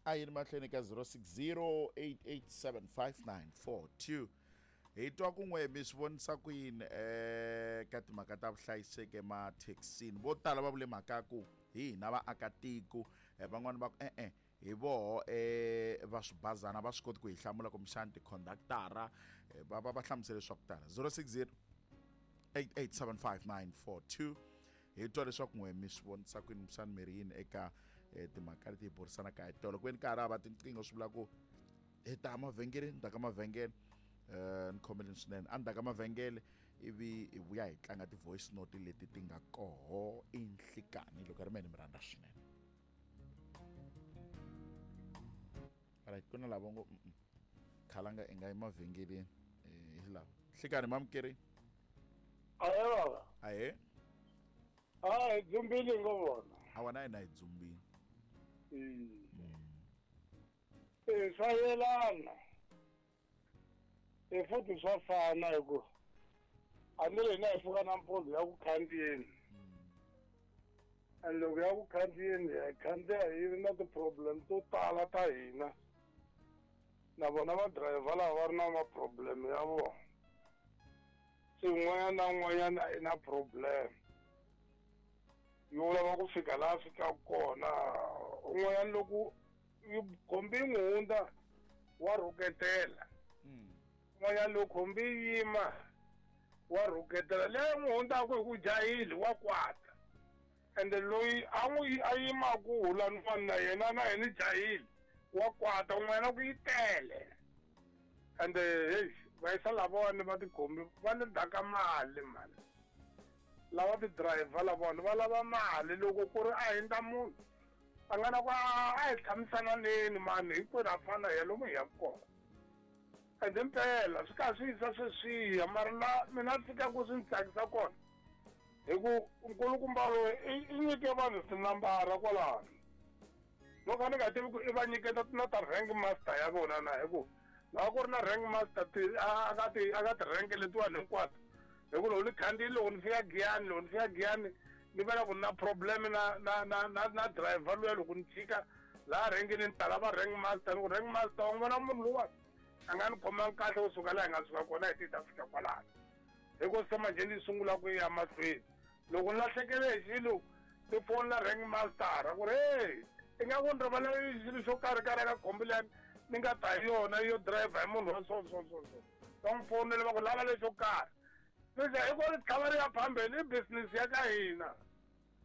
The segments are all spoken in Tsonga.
A yi ri mahlweni ka 0608875942. Hi twa kun'we mi swi vonisa ku yini ka timhaka ta vuhlayiseki emathekisini. Vo tala va vule mhaka ku hi hina vaakatiko, van'wani va ku e-e hi voho va swibazana va swi koti ku hi hlamula kumbexani tikhondaktara, va hlamusele swa ku tala. 0608875942. Hi twa leswaku n'we mi swi vonisa kwini, kumbexani mi ri yini eka timhaka leti hi burisanaka hi tolo. Ku ve ni ka ha ri hava tinqingho, swi vula ku hi ta mavhengeleni, ni ta ka mavhengele, ni khomeleni swinene a ni ta ka mavhengele, ivi hi vuya hi tlanga ti-voice note leti ti nga koho i nhlikani. Loko ri mene mi rhandza swinene. Right, ku na lava ngo khalanga i nga yi mavhengeleni, hi lava nhlikani mamukeri. Ahe baba. Ahe. A hi dzumbile ngo vona. A wena hina hi dzumbile. Swa yelana. Futhi swa fana hi ku a ni ri hina hi pfuka nampundzu ya ku khandziyeni. And loko ya ku khandziyeni hi khandziya hi ri na ti-problem to tala ta hina. Na vona va driver lava va ri na ma-problem ya vona. Se un'wanyana na un'wanyana i na problem yo lava ku fika laha fikaka kona. Un'wanyana loko yi khombi yi n'wi hundza wa rhuketela, un'wanyana loko khombi yi yima wa rhuketela, leyi n'wi hundzaka hi ku jahile wa kwata. Ende loyi a n'wi a yimaku hulan'wana na yena na yena jahile wa kwata, un'wanyana ku yi tele. Ende hey, vayisa lavawani va tikhombi va ni daka mali mani, lava ti-driver lavawani va lava mali. Loko ku ri a hindza munhu a nga na ku a hi tshamisananeni mani, hinkwenu ha fana hi ya lomu hi yaka kona. Ende mpela swi karhi swi yisa sweswiya, mara la mina fikaku swi ni tsakisa kona hi ku nkulukumba loyi i nyike vanhu tinambara kwalano. Loko a ni nga tivi ku i va nyiketa na ta rank master ya vona na, hi ku loko ku ri na rank master ti a ka ti a ka ti-rank letiwani hinkwato, hi ku loko ni khandziyile, loko ni fika Giyani, loko ni fika Giyani ni vona ku na problem na na na na na driver luya, loko ni chika laha rhenkeni ni ta lava rank master, ni ku rank master wa n'wi vona munhu luwani a nga ni khomangi kahle kusuka laha hi nga suka kona hi ti ta fika kwalano. Hi ku se manjhe ni sungula ku ya mahlweni, loko ni lahlekele hi xilo ni fonela rank master ku ri hey, i nga ku ni rivalela xilo xo karhi karhi ka khombi liya ni nga ta hi yona yo driver hi munhu wa so so so so, va n'wi fonela va ku lava lexo karhi. Leswi hi ku ri tlhava ri ya phambeni i business ya ka hina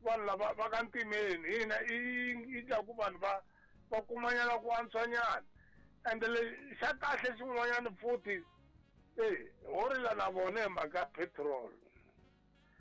vanhu lava va ka ntimeni, hina i dya ku vanhu va va kumanyana ku antswanyana. Ende le xa kahle xin'wanyana futhi ho rila na vona hi mhaka petrol.